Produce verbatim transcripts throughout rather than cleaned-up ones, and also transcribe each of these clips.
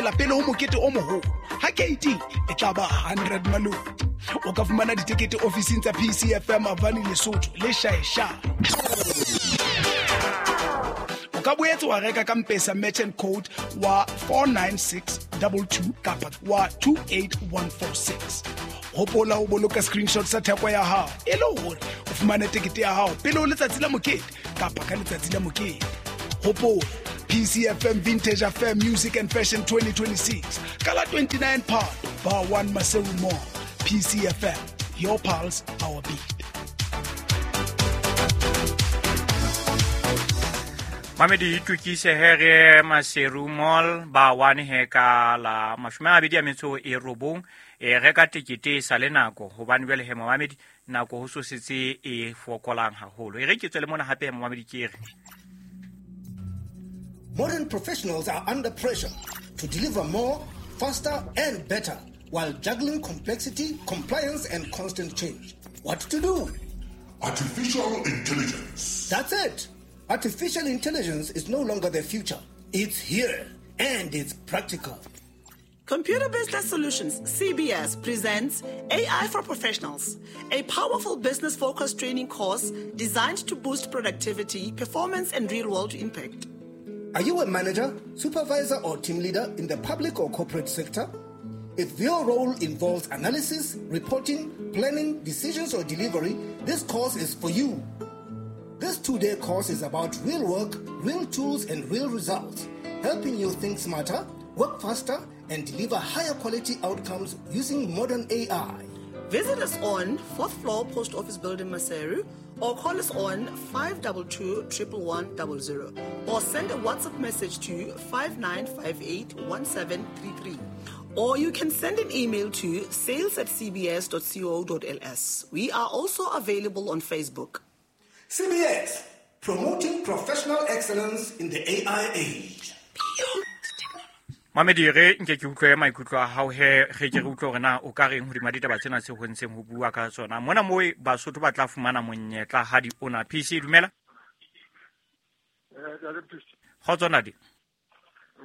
tshelela pele ho mokete o moholo. Ha keiting e tla ba hundred maloti. O ka fumana ditekete ofising tsa P C F M Avani Lesotho le Shaesha. O ka boetse wa reka ka M-Pesa merchant code wa four nine six two two kapa wa two eight one four six. Hopola ho boloka screenshot sa theko ya hao e le hore o fumane tekete ya hao pele ho letsatsi la mokete kapa ka letsatsi la mokete. Hopola P C F M Vintage Affair Music and Fashion twenty twenty-six ka la twenty-nine Phato Bar one Maseru Mall. P C F M, your pulse, our beat. Mamedi itukise here Maseru Mall ba one he ka la mashome a mabedi a metso e robong e reka tekete e sa le nako hobane jwale he mamedi nako ho so setse e fokolang haholo. E re ke tswele mona hape mamedi ke re Modern professionals are under pressure to deliver more, faster and better while juggling complexity, compliance and constant change. What to do? Artificial intelligence. That's it. Artificial intelligence is no longer the future. It's here and it's practical. Computer Business Solutions, C B S, presents A I for Professionals, a powerful business-focused training course designed to boost productivity, performance, and real-world impact. Are you a manager, supervisor, or team leader in the public or corporate sector? If your role involves analysis, reporting, planning, decisions, or delivery, this course is for you. This two-day course is about real work, real tools, and real results, helping you think smarter, work faster, and deliver higher quality outcomes using modern A I. Visit us on fourth floor Post Office Building, Maseru, or call us on five two two, one one one zero, or send a WhatsApp message to five nine five eight, one seven three three. Or you can send an email to sales at c b s dot co dot l s. We are also available on Facebook. C B S, promoting professional excellence in the A I age. Mamedi re nke ke utlwe maikutlo a hao he ge ke re utlwe hore na o ka reng hodima ditaba tsena tse ho ntseng ho bua ka tsona. Mona moo Basotho ba tla fumana monyetla ha di ona. P C dumela. Eh, ntate P C. Kgotso ntate.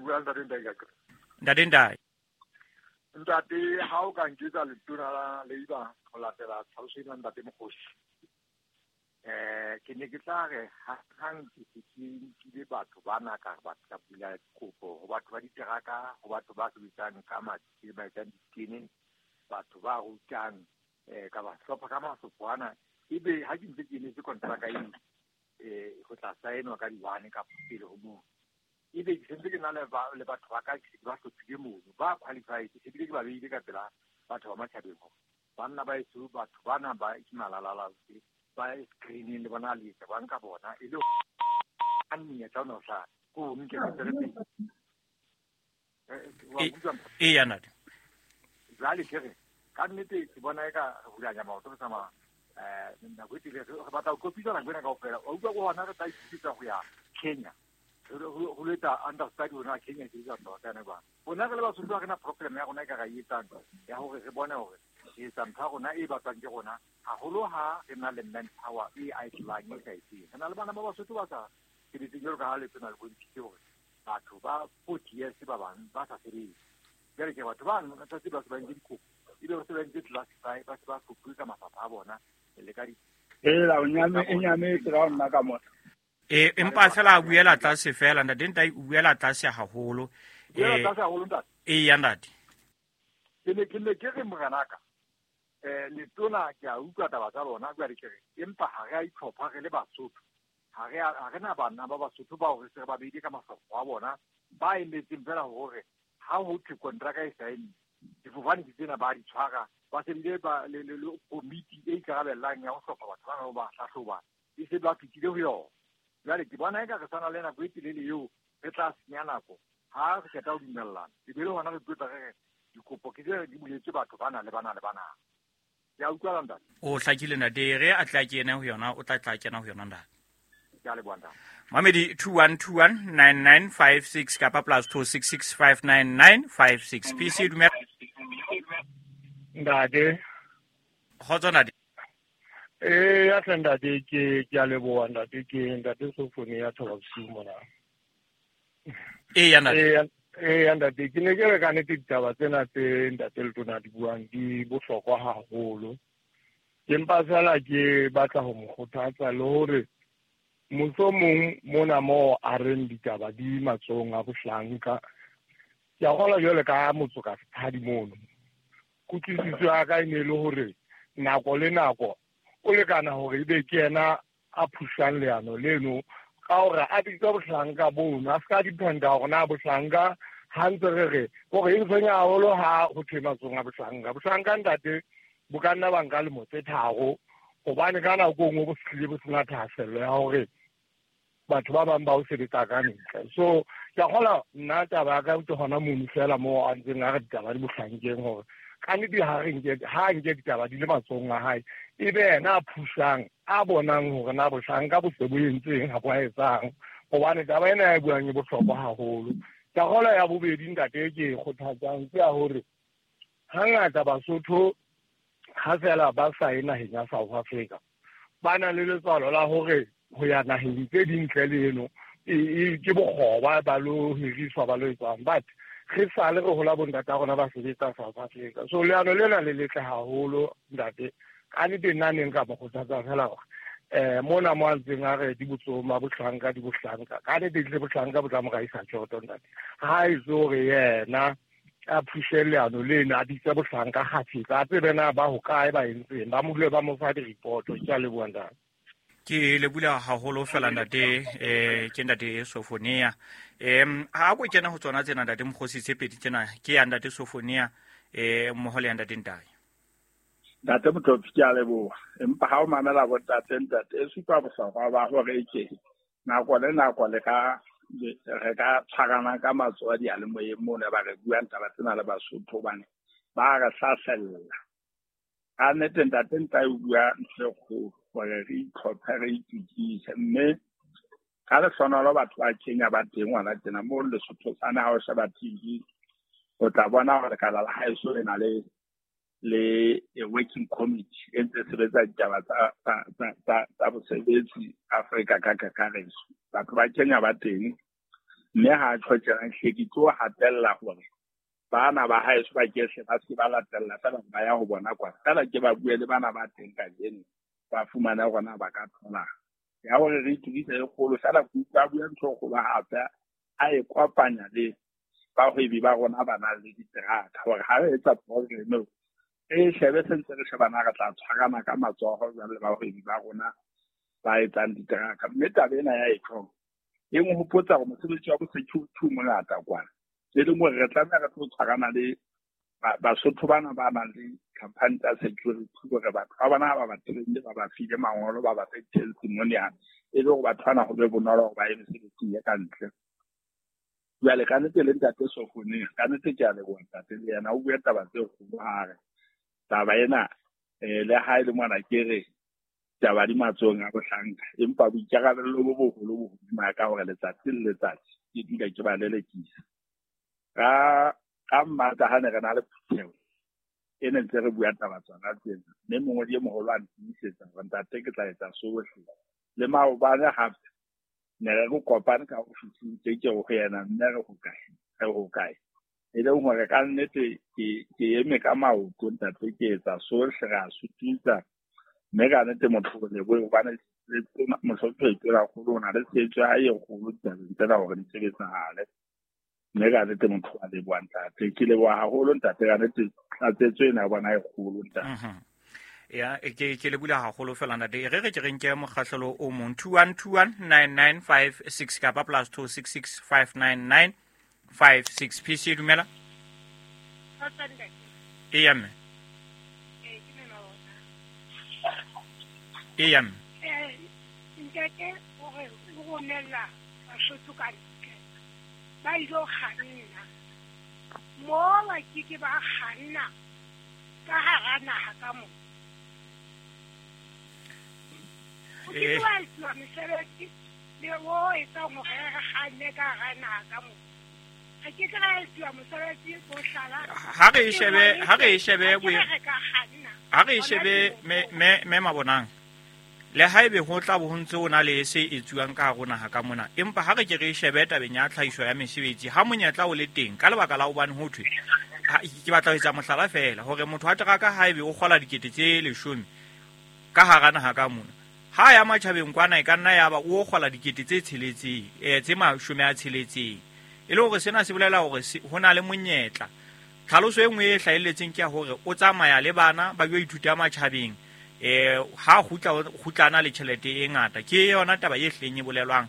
Bua ntate Ndai ka. Ntate Ndai. Ntate ha o ka nketsa letona la Labour ho latela tlhaloso ena ntate Mokgosi. Eh ke ne ke tla re hang ke se ke nkile batho bana ka re batho ka bula dikopo ho batho ba diteraka, ho batho ba sebetsang ka matsi, ba etsang ditene, batho ba rutang eh ka ba hlopha ka masopho ana. Ebe ha ke ntse ke emetse kontraka eo eh ho tla saenwa ka di-one ka pele ho moo. Ebe ke sentse ke na le ba le batho ba ka ke ba hlophile mono, ba qualified, ebile ke ba beile ka pela batho ba matjhabeng hore banna ba eso batho bana ba ke malalala ba screening le bona le tsa ba nka bona e le a nnya tsa no sa ko nke ke tsere pele e ya ntate jwale ke re ka nnete ke bona e ka hulanya maoto re tsamaya eh nako e telele re batla ho kopisa nako ena kaofela. Wa utlwa ko hona re tla ithuta ho ya Kenya ho lo etsa understudy hona Kenya ke etsa ntho tsena jwang. Rona re le Basotho ha re na problem ya rona e ka ra e etsang ya hore re bone hore re etsa ntho ya rona e batlwang ke rona haholo ha re na le manpower e idlang e sa etseng. Re na le bana ba Basotho ba sa sebetseng jwalo ka ha letona le bontshitse hore batho ba forty years ba bang ba sa sebetse. Jwale ke batho bano ka tsatsi ba se ba entse dikopo ebe ba se ba entse classify ba se ba hlophuwe ka mafapha a bona le ka di Hela o nyame e nyametse ka nna ka mona. E empa fela a buela tlase fela ntate Ntai o buela tlase haholo. Buela tlase haholo ntate. E ya ntate. Ke ne ke ne ke re moranaka. Eh letona ke a utlwa taba tsa lona jwale ke re empa ha re a itlhopha re le Basotho. Ha re ha re na bana ba Basotho bao re se re ba beile ka mafapha a bona ba emetseng fela hore ha ho thwe kontraka e saenne difofane ke tsena ba di tshwara ba se bile ba le le komiti e ikarabellang ya ho hlopha batho bana ba hlahloba e se ba fitile ho yona. Jwale ke bona eka re sana le nako e telele eo re tla senya nako ha re qeta ho dumellana ebile hona re tlotla re re dikopo ke tse di buletswe batho bana le bana le bana. Ke a utlwa ntate. O hlakile ntate re a tla kena ho yona o tla tla kena ho yona ntate. Ke a leboha ntate. Mamedi two one two one nine nine five six kapa plus two six six five nine nine five six. P C dumela. Ntate. Kgotso ntate. Eh ya tle ntate ke ke a leboha ntate ke ntate Sofone ya thoba bosiu mona. E ya ntate. Eh Eh ntate ke ne ke re ka nnete ditaba tsena tse ntate Letona di buang di bohlokwa haholo. Ke mpa fela ke batla ho mo kgothatsa le hore mohlomong mona mo a reng ditaba di matsohong a bohlanka. Ke a kgolwa jwale ka motso ka setshadi mono. Kutlwisiso ya ka e ne le hore nako le nako o lekana hore ebe ke yena a phusang leano leno ka hore a bitsa bohlanka bono a ska dependa hore na bohlanka ha ntse re re hore e ntshwenya haholo ha ho thwe matsohong a bohlanka. Bohlanka ntate bo ka nna ba nka lemo tse tharo hobane ka nako e nngwe bo hlile bo sena thahasello ya hore batho ba bang ba o sebetsa ka ntle. So ke a kgolwa nna taba ya ka ke hona mono fela moo a ntseng a re ditaba di bohlankeng hore ka nnete ha re nke ha nke ditaba di le matsohong a hae ebe yena a phusang a bonang hore na bohlanka bo se bo entseng ha bo a etsang hobane taba ena ya e buang e bohlokwa haholo. Ke a kgolwa ya bobedi ntate ke e kgothatsang ke ya hore hangata Basotho ha fela ba sa ye naheng ya South Africa ba na le letswalo la hore ho ya naheng tse ding ntle le eno ke bokgoba ba lo hiriswa ba lo etsang, but re sale re hola bontata rona ba sebetsa South Africa. So leano lena le letle haholo ntate ka nnete nna ne nka mo kgothatsa fela hore eh mona mo a ntseng a re di botsohong ba bohlanka di bohlanka ka nnete tle bohlanka bo tla mo raisa tjhoto ntate ha e so hore yena a phushe leano lena a bitse bohlanka kgafetsa a tsebe na ba hokae ba entseng ba mo dule ba mo fa di-report. Ke a leboha ntate. Ke le bula haholo fela ntate eh ke ntate Sofonia. Em ha go kena ho tsona tsena ntate Mokgosi tse pedi tsena ke ya ntate Sofonia eh mmoho le ya ntate Ntai. Ntate Motlopi ke a leboha empa ha o mamela bo ntate ntate e supa bohlokwa ba hore ke nako le nako le ka re ka tshwarana ka matsoho diyalemoyeng mona ba re buang taba tsena le Basotho hobane ba re hlasella. Ka nnete ntate Ntai o bua ntho e kgolo hore re itlhophe re itukise mme ka lehlohonolo batho ba Kenya ba teng hona tjena moo Lesotho sane ha o sheba T V o tla bona hore lekala la haeso le na le le a working committee e ntse sebetsa ditaba tsa tsa tsa tsa bosebetsi Afrika ka kakaretso. Batho ba Kenya ba teng mme ha tjho tjena hle ke tlo hatella hore bana ba haeso ba kehle ba se ba latella fela ba ya ho bona kwa fela ke ba bue le bana ba teng kajeno ba fumana hore ba ka thola ya hore re itukise e kgolo fela ke utlwa bua ntho e kgolo hape a e kopanya le bahwebi ba rona ba nang le diteraka hore ha re etsa program e shebe sentse re shebana re tla tshwarana ka matsoho jwale le bahwebi ba rona ba etsang diteraka. Mme taba ena ya e-tong e nhopotsa hore mosebetsi wa bo security o mongata kwana e leng hore re tlameha re tlo tshwarana le Basotho bana ba nang le company tsa security hore batho ba bona ha ba ba trainile ba ba file mangolo ba ba fe testimonial e le hore batho bana ho be bonolo hore ba ye mesebetsing e ka ntle. Jwale ka nnete le ntate Sofonia ka nnete ke a leboha ntate le yena o bua taba tse kgolo ha re taba ena eh le ha e le mona ke re taba di matsohong a bohlanka empa boikarabello bo boholo bo hodima ka hore letsatsi le letsatsi ke dula ke ba lelekisa. Ka ka mmata ha ne re na le phutheho e ne ntse re bua taba tsona tsena mme mongodi e moholo a ntiisetsa hore ntate ke tla etsa sohle le maobane hape ne re kopane ka ofising tse ke ho yena mme re ho kae re ho kae e leng hore ka nnete ke ke eme ka maoto ntate ke etsa sohle re a sutisa mme ka nnete motho o lebohe hobane mohlomphehli Tonakgolo o na le tshehetso ya hae e kgolo ditabeng tsena hore di sebetsahale. Mme ka nnete motho wa leboha ntate ke leboha haholo ntate ka nnete tlatsetso ena ya bona e kgolo ntate. Ya ke ke le bula haholo fela ntate re re ke re nke mokgahlelo o mong two one two one nine nine five six kapa plus two six six five nine nine five six. P C dumela. E mme. E mme. Eh ntate o re o romella Basotho ka ntle ba ilo kganna mo ba ke ke ba kganna ka hara naha ka mo o ke wa etsa mesebetsi le o etsang hore re kganne ka hara naha ka mo re ke tla etsa mosebetsi bo hlala ha re e shebe ha re e shebe ha re e shebe me me me mabonang Le haebe ho tla bo ho ntse ho na le se etsuwang ka hare ho naha ka mona, empa ha re ke re shebe tabeng ya tlhahiso ya mesebetsi, ha monyetla o le teng ka lebaka la hobane ho thwe, ke batla ho etsa mohlala feela hore motho wa teraka haebe o kgola dikete tse leshome ka hara naha ka mona, ha ya matjhabeng kwana e ka nna ya ba o kgola dikete tse tsheletseng, eh tse mashome a tsheletseng. E le hore sena se bolela hore ho na le monyetla. Tlhaloso e nngwe e hlahelletseng ke ya hore o tsamaya le bana ba yo ithuta matjhabeng, eh ha kgutla kgutlana le tjhelete e ngata. Ke yona taba e hleng e bolelwang,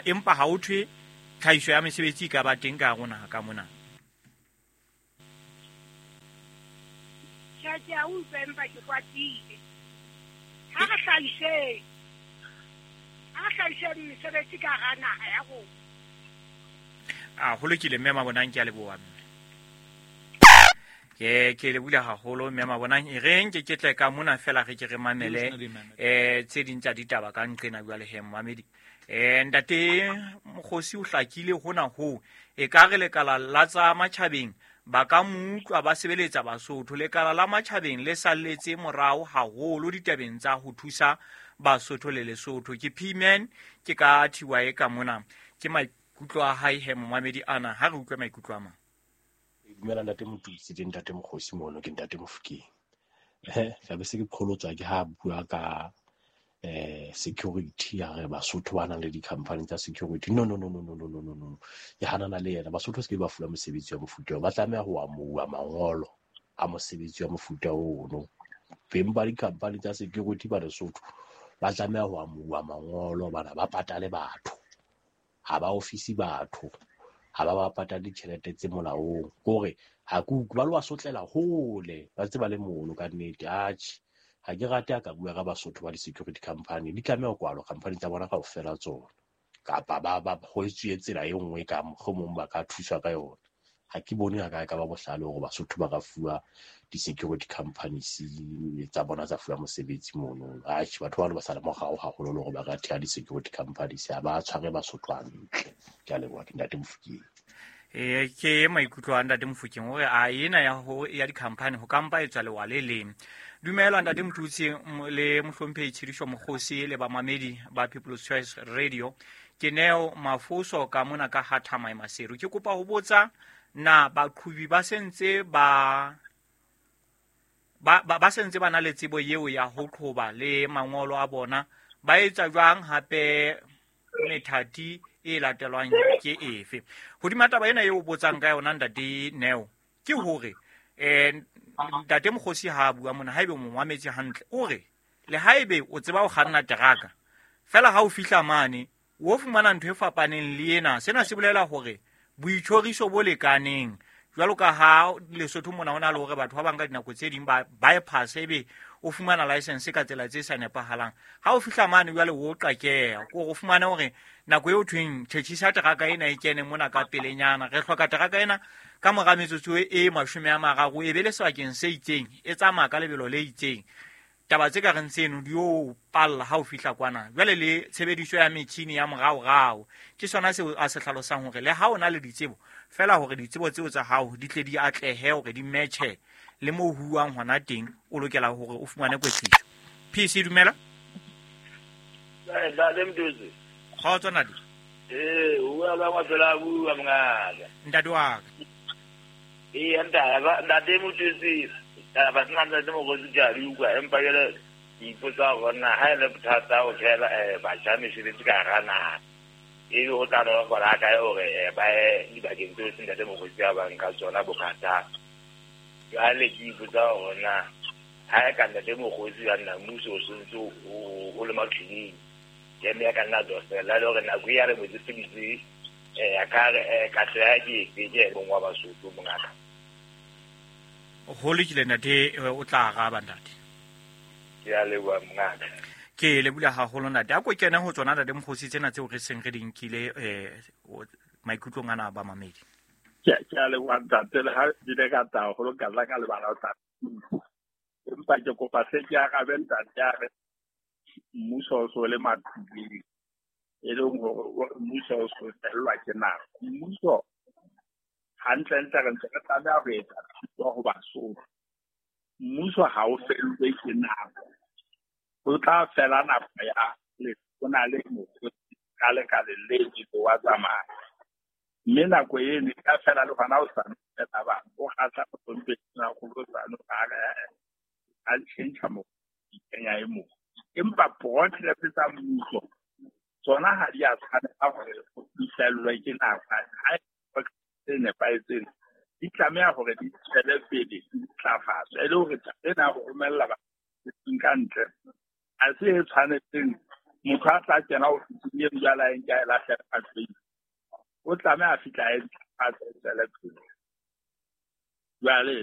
empa ha o thwe tlhahiso ya mesebetsi e ka ba teng ka hare ho naha ka mona. Tjhe, ke a utlwa empa ke kwatile. Ha re hlahiseng, ha re hlahiseng mesebetsi ka hara naha ya rona. A ho lokile mme Mabonang, ke a leboha mme. Ke ke le bula haholo mme Mabonang, e reng ke ke tle ka mona fela re ke re mamele eh tse ding tsa ditaba ka nqena jwale he mmamedi. Eh ntate Mokgosi o hlakile hona ho e ka re lekala la tsa matjhabeng ba ka mo utlwa ba sebeletsa Basotho. Lekala la matjhabeng le salletse morao haholo ditabeng tsa ho thusa Basotho le Lesotho. Ke P-Man ke ka thiwa e ka mona, ke maikutlo a hae he momamedi ana, ha re utlwe maikutlo a mang. Dumela ntate Motutsi le ntate Mokgosi mono, ke ntate Mofokeng. Eh ka be se ke qholotswa ke ha bua ka eh security, ya re Basotho ba nang le di-company tsa security. No no no no no no no no no. Ke hanana le yena. Basotho se ke ba fuwa mosebetsi wa mofuta oo, ba tlameha ho amohuwa mangolo a mosebetsi wa mofuta ono. Beng ba di-company tsa security ba Lesotho ba tlameha ho amohuwa mangolo, bana ba patale batho, ha ba ofisi batho, ha ba ba patale ditjhelete tse molaong. Kore ha ke utlwe ba lo ba sotlela hole, ba ntse ba le mono ka nnete. Atjhe, ha ke rate a ka bua ka Basotho ba di-security company, di tlameha ho kwalwa company tsa bona kaofela tsona, kapa ba ba ho etsuwe tsela e nngwe ka mohlomong ba ka thuswa ka yona. Ha ke bone ha ka ka ba bohlale hore Basotho ba ka fuwa di-security companies tsa bona tsa fuwa mosebetsi mono. Atjhe, batho bano ba sala morao haholo le hore ba ka theha di-security companies, ha ba tshware Basotho hantle. Ke a leboha, ke ntate Mofokeng. Eh ke maikutlo a ntate Mofokeng hore a ena ya ho ya di-company ho kampa e tswa lewa le leng. Dumela ntate Motutsi le mohlomphehi Tshidiso Mokgosi le bamamedi ba People's Choice Radio. Ke Neo Mafoso ka mona ka Hathamae Maseru. Ke kopa ho botsa na baqhubi ba sentse ba ba ba sentse ba na le tsebo eo ya ho qhoba le mangolo a bona, ba etsa jwang hape methati e latelwang ke efe? Hodima taba ena eo botsang ka yona ntate Neo, ke hore eh ntate Mokgosi ha bua mona, haebe mo mametse hantle, o re le haebe o tseba ho kganna teraka fela ha o fihla mane o fumana ntho e fapaneng le ena. Sena se bolela hore boitjhoriso bo lekaneng jwalo ka ha Lesotho mona hona le hore batho ba bang ka dinako tse ding ba bypass ebe o fumana license ka tsela tse sa nepahalang. Ha o fihla mane jwale o qakeha, ko o fumane hore nako eo thweng tjhetjhisa teraka ena e kene mona ka pelenyana, re hloka teraka ena ka mora metsotso e mashome a mararo e be le sebakeng se itseng, e tsamaya ka lebelo le itseng. Taba tse ka reng tseno di o palla ha o fihla kwana. Jwale le tshebediso ya metjhini ya moraorao ke sona seo a se hlalosang hore le ha o na le ditsebo fela hore ditsebo tseo tsa hao di tle di atlehe hore di matche le moo huwang hona teng, o lokela hore o fumane kwetliso. P C dumela. Ntate Motutsi. Kgotso ntate. Eh, o bua la mafela bua mongaka. Ntate wa ka. Eh, ntate, ntate Motutsi. Ba sena ntate Mokgosi ke a di utlwa, empa jwale ke ipotsa hore na ha e le bothata ho thehela batjha mesebetsi ka hara naha, ebe ho tla nolofala kae hore ba ye dibakeng tseo se ntate Mokgosi a bang ka tsona bothata. Jwale ke ipotsa hore na ha e ka ntate Mokgosi ya nna mmuso o sentse o le mathuleng, jeme ya ka nna tswa fela le hore nako e ya re mo tseseditse eh ka katleho ya ke efe ke e mong wa Basotho mongaka. Ho lokile ntate, o tla araba ntate. Ke a leboha mongaka. Ke leboha haholo ntate. A ko kene ho tsona ntate Mokgosi tsena tseo re seng re di nkile eh maikutlong ana a bamamedi. Ke ke a leboha ntate, le ha di le ka tla haholo ka tla ka lebala ho tla. Empa ke kopa se ke arabe ntate a re mmuso o so le mathuleng, e leng hore mmuso o so fellwa ke nako. Mmuso hantlentle re ntse re tlameha ho etsa thuto ho Basotho. Mmuso ha o fellwe ke nako. Ho tla fela nako ya letona le mokgotsi ka lekaleng le wa tsamaya. Mme nako eno e ka fela le hona hosane fela ba o kgahla mohlomphehi Tonakgolo hosane a re a tjhentjha mokgotsi kenya e mong. Empa project tsa mmuso tsona ha di a tshwanela hore di fellwe ke nako. Ha e nepahetseng di tlameha hore di tswele pele di ntlafatswe e le hore taba ena ya ho romella batho ka ntle ha se e tshwanetseng motho a tla kena ofising eno jwale a e nka e lahlela ka tlung. O tlameha a fihla a e ntlafatse e tswele pele. Jwale